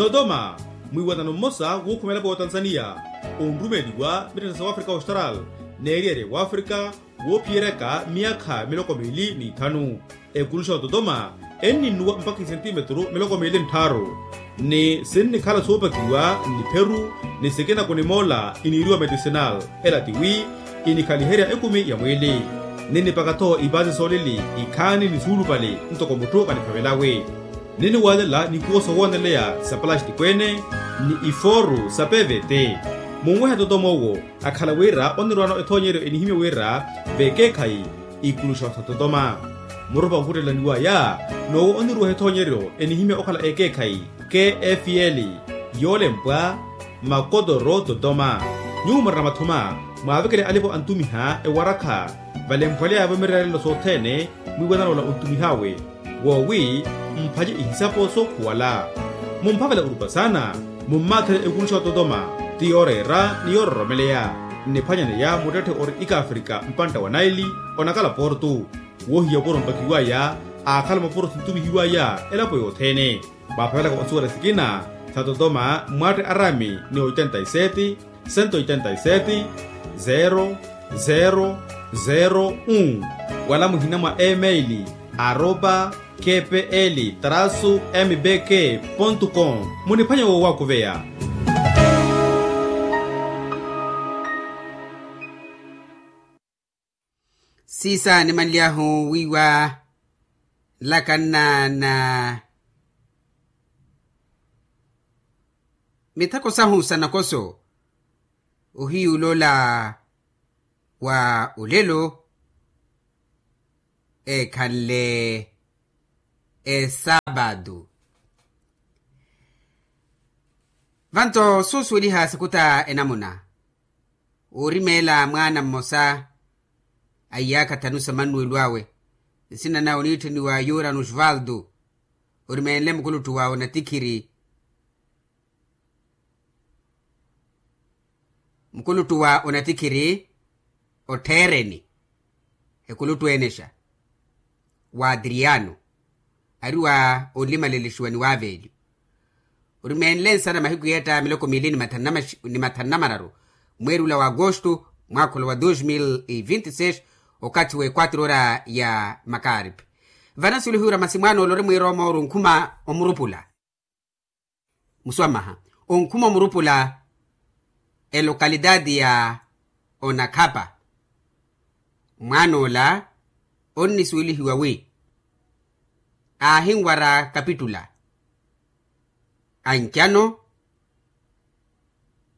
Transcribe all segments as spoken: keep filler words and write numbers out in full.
Totoma, mwiiwanano mmosa wuukhuma elapo ya otanzaniya onrumeeliwa mittetta sa wafrika austral n'eriyari ya wafrika woophiyeryaka myaakha miloko miili n'ithanu. Ekuluxa ototoma enninnuwa mpakha isentimetru miloko miili nttharu, ni sinnikhala soopakiwa n'ipheru ni sikina kunimoola iniiriwa medicinal. Ela tiwi inikhaliherya ekumi ya mwiili. Ninnipaka-tho ipaasi soolili ikhaani ni suulupale ntoko mutthu vaniphavelawe. Ninniwaalela nikuwo soowooneleya sa palastiko-ene ni ifooru sa pvt. Munwehe totoma owo akhala wira onnirwaano ethoonyeryo enihimya wira vekeekhayi ikuluxa sa totoma. Murupa onkhuttelaniwaya n'owo onniruweha ethoonyeryo enihimya okhala ekeekhayi kfl, yoolempwa makotoro totoma. Nyuwo murina mathuma mwaavekele alipo antumiha ewarakha valemphweleyavo mirerelelo sothene mwiiwanano ola ontumih'awe woowi mphace ihisapo sookhuwala. Mumphavela orupa saana mummaathele ekuluxa ototoma ti yooreera ni yoororomeleya. Nniphwanyaneya muttetthe ori ikaafrika mpantta wa naili onakala portu woohiya opuro mpakiwaya aakhala mopuro sintumihiwaya elapo yothene. Mwaaphavelaka osuwela sikina sa totoma mwaatte araami ni oitenta y sete, sento oitenta y sete, zero zero zero un, wala muhina mwa email aropa kpl trasu mbk pontu com. Muniphwanya woowakuveya. Siisa nimanly'ahu wiiwa nlakanna na mithako sahu sa nakoso ohiyuulola wa olelo eekhanle esaapatu. Vanto suusuweliha sakuta enamuna oorimeela mwaana mmosa a iyaakha thanu sa mannuwelo awe nsina nawe oniittheniwa yura nusvaldo orimeenle mukuluttu wa onatikhiri. Mukuluttu wa onatikhiri ottheereni ekuluttu enexa wa adriano ari wa onlimalelexiwa ni waveeliwa. Orimeenle nsana mahiku yeetta miloko miili ni mathanu na mararu mweeri ula wa agosto mwaakha ula wa dos mil e vinti seis okathi wa equatro ora ya makaaripi. Vana sulihiwira masi mwaana ole ori mwiirooma ori onkhuma omurupula muswamaha onkhuma omurupula elokalitati ya onakhapa. Mwaana ola onnisuwelihiwa wi aahinwara kapitula ancano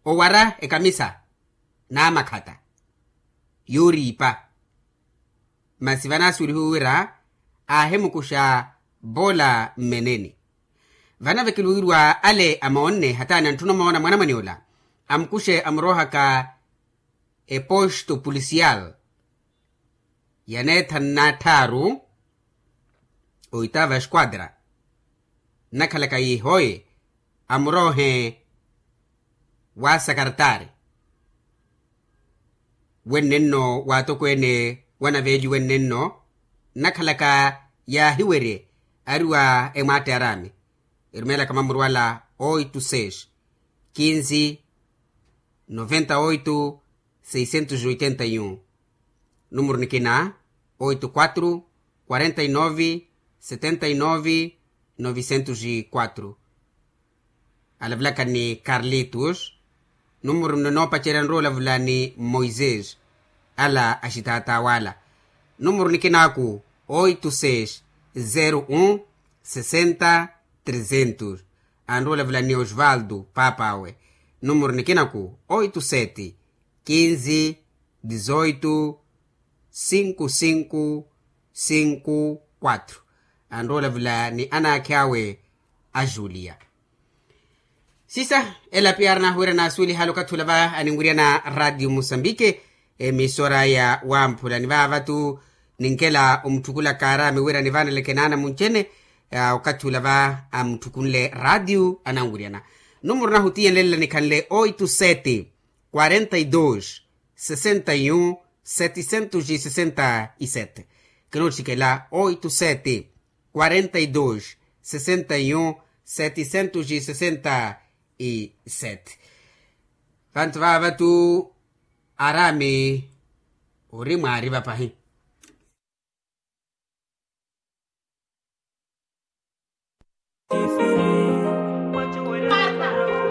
owara ekamisa n'amakhata yooriipa. Masi vana asuwelihiwe wira aahimukuxa poola mmeneni. Vana vekeluwiwa ale amoonne hataani antthuna omoona mwanamwane ola amukuxe amuroohaka eposto policial ya neetha nnatthaaru oitava esquadra nnakhalaka yiihoye amuroohe wa sakartaari wennenno waatokweene wanaveeliwe nnenno nnakhalaka yaahiwerye ari wa emwaatte araami erumeelaka mamuru ala oito seis quinze noventa oito seiscentos oitenta y un. Numuru nikina oito quatro quarenta y nove setenta y nove novecentos y quatro. Alavelaka ni carlitos. Numuru nno noopacerya nrowa olavula ni moisés ala axitaata wala. Numuru nikinaaku oito seis zero um sessenta trezentos. Anrowa olavula ni osvaldo paapaawe. Numuru nikinaku oito sete quinze dezoito cinco cinco cinco quatro. Anrowa olavula ni anaakhi awe a julia. Sisa elapi aari nahuwira naasuwelihale okathi ula va aninwiryana radio musambike emisora ya wamphula ni vaava-tu ninkela omutthukulaka araami wira nivaaneleke naana munci-ene. Okathi ula va amutthukunle radio ananwiryana numuru nahu tiyenlelela nikhanle oito sete quarenta y dos sessenta y um setecentos e sessenta y sete. Kinootthikela oito sete quarenta y dos sessenta y um Seticentos e sessenta e sete. Vantu vava tu arami uri mwari vapahi.